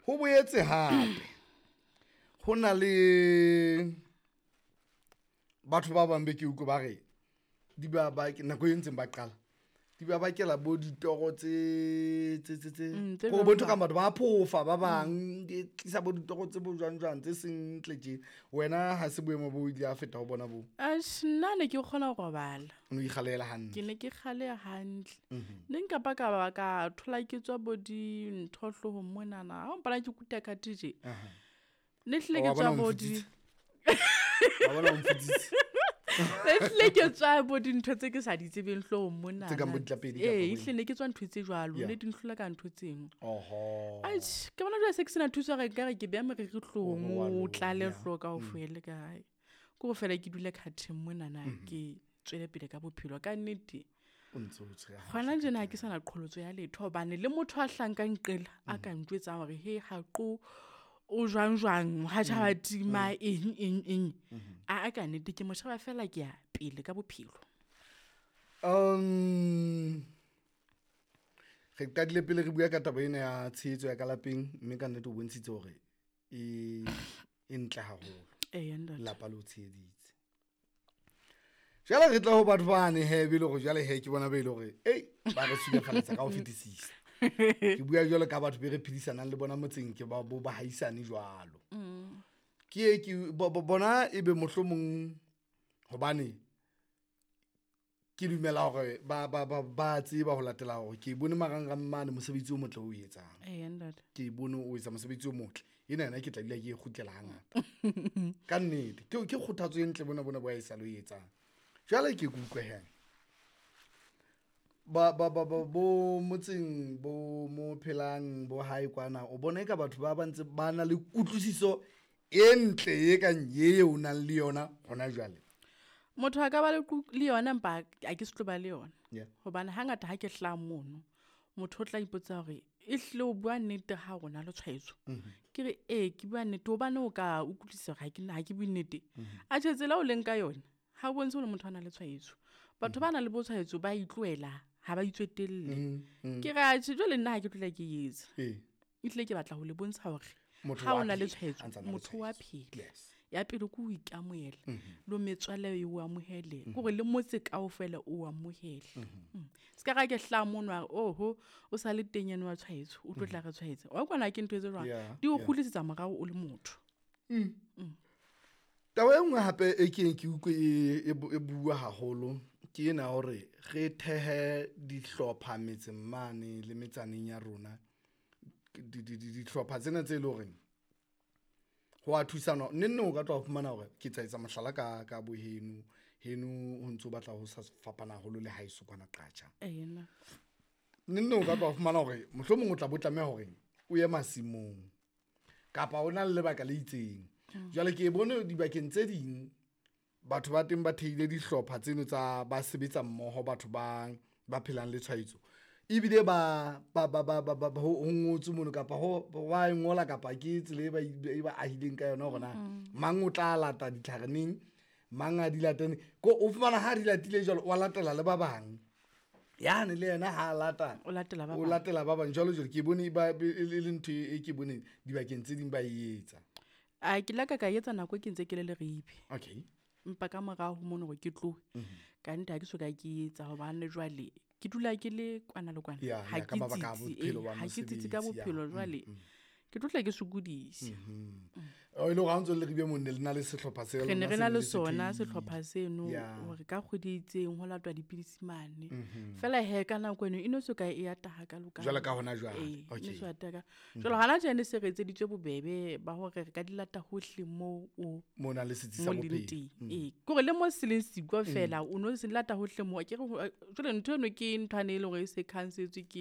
Ho boetse hape ho na le batho ba bang be ke utlwe ba re di ba nako e ntseng ba qala di ba bakela bo ditoro tse tse tse tse Tse ko bo ntho jwang ka batho ba phofa ba bang di tlisa bo ditoro tse bo jwang jwang tse seng ntle tje. Wena ha se boemo bo ile a feta ho bona bo? Atjhe, nna ne ke kgona ho robala. O no ikgalela hantle. Ke ne ke kgaleha hantle. Ne nka ba ka ba ka thola ke tswa bo dintho hloohong monana. Ha o mpona ke kuta ka tje. Ne hlile ke Wa bona tswa o bo di nfutsitse. Wa bona o nfutsitse. Ne hlile ke tswa bo dintho tse ke sa di tsebeng hloohong monana. Tse kang bo ditlapedi kapa Ee, bo eng? ehlile ne ke tswa ntho tse jwalo. Yeah. Ne di nhlola ka ntho tseno. Oho. Atjhe, ke bona jwale se ke sena thuso hore nkare ke beha moriri hloohong, Wa o loya. tlale hlooho kaofela ka hae. Ke hore feela ke dule khatheng monana, ke tswele pele ka bophelo. Ka nnete, O ntso o tshwere hantle hona ka tjena ha teng. ke sana qholotso ya letho hobane le motho a hlahang ka nqela a ka ntjwetsang hore he haqo o jwang jwang, ha tjhaba tima eng eng eng. A ka nnete ke mo sheba feela ke ya pele ka bophelo. Re qadile pele re bua ka taba ena ya tshehetso ya ka lapeng, mme ka nnete o bontshitse hore e ntle haholo. Eya, ntate. Lelapa le o tsheheditse. Jwale re tla ho batho bane he, be le hore jwale he ke bona be le hore, ei, ba re tshubafaletsa ka ho fetisisa. Ke bua jwalo ka batho be re phedisanang le bona motseng, ke ba bo bahaisane jwalo. Ke e ke bo, bo, bona ebe mohlomong hobane ke dumela hore ba tseba ho latela hore ke bone marangrang mane mosebetsi o motle o etsang. Eya, ntate. Ke bone o etsa mosebetsi o motle. Ena yona ke tla dula ke e kgutlela hangata. Ka nnete, ke kgothatso e ntle bona bona bo haesale o e etsang. Jwale ke utlwe he. Ba, ba, ba, ba, bo motseng, bo mo phelang, bo hae kwana, o bona eka batho ba ba ntse ba na le kutlwisiso e ntle e kang e o nang le yona hona jwale. Motho a ka ba le yona empa a ke se tlo ba le yona. Yeah. Hobane hangata ha ke hlaha mono, motho o tla ipotsa hore ehlile o bua nnete ha o na le tshwaetso. Ke re ee, ke bua nnete hobane o ka utlwisisa hore ha ke bue nnete. Atjhe, tsela o leng ka yona ha o bontshe hore motho a na le tshwaetso. Batho ba nang le bo tshwaetso ba itlohela, ha ba itswetelle. Ke re atjhe, jwale nna ha ke tlohela ke e etsa. Ehlile ke batla ho le bontsha hore Motho ha wa o na le phela, tshwaetso, a ntsa na le motho wa tshwaetso. phela. Yes. Ya pele ke ho ikamohela, le metswalle e o amohele, ke hore le motse kaofela o amohele. Se ka ra ke hlaha mono a re, oho, o sa le teng eno wa tshwaetso, o tlo tla re tshwaetsa. Wa kwana ke ntho e tse jwang? Yeah, Di o yeah. kgutlisetsa morao o le motho. Taba e nngwe hape e ke ke utlwe e bua haholo ke ena hore re thehe dihlopha metseng mane le metsaneng ya rona. Dihlopha tsena tse leng hore ho a thusana. Neng neng o ka tloha o fumana hore ke tla etsa mohlala ka bo heno. Heno ho ntso batla ho sa fapana haholo le haeso kwana Qacha. Eya, nna. Neng neng o ka tloha o fumana hore mohlomong o tla bo tlameha hore o ye masimong kapa o na le lebaka le itseng. Jwale ke bone dibakeng tse ding batho ba teng ba thehile dihlopha tseno tsa ba sebetsa mmoho, batho ba phelang le tshwaetso. Ebile ho ngotswe mono kapa ho wa e ngola kapa ke tsela e ba ahileng ka yona hore na mang o tla lata ditlhare neng, mang a di late neng. Ko o fumana ha di latile jwalo, wa latela le ba bang. Yane le yena ha a lata, O latela ba o bang. latela ba bang jwalo jwalo. Ke bone ba, e le ntho e ke boneng dibakeng tse ding ba e etsa. A ke la ka ka etsa nako e ke ntse ke le Leribe. Okay. Empa ka morao ho mono hore ke tlohe. Ka nnete ha ke soka ke etsa hobane jwale ke dula ke le kwana le kwana. Yeah, Ha yeah, ke ka mabaka a tsitsi, bophelo eh, ba ha ke tsitsi ka mosebetsi, yeah. bophelo jwale. Ke tlo tla ke sokodise. Oh, e le hore ha o ntso le Leribe moo ne le na le sehlopha se Re ne lona re se na ne le le se sona thehile. sehlopha seno Yeah. hore ka kgwedi e itseng ho latwa dipidisi mane. Feela he ka nako eno e no so ka e ata hakalo ka Jwalo ka hona jwale. Ee, e no Okay. so ata ka. Jwale hona tjena se re etseditswe bobebe ba hore re ka di lata hohle moo o Mo nang le setsi sa mo leng bophelo. teng. Ee, ke hore le mo se leng siko feela, o no se lata hohle moo. Akere ho, jwale ntho eno ke nthwane e leng hore e se khansetswe ke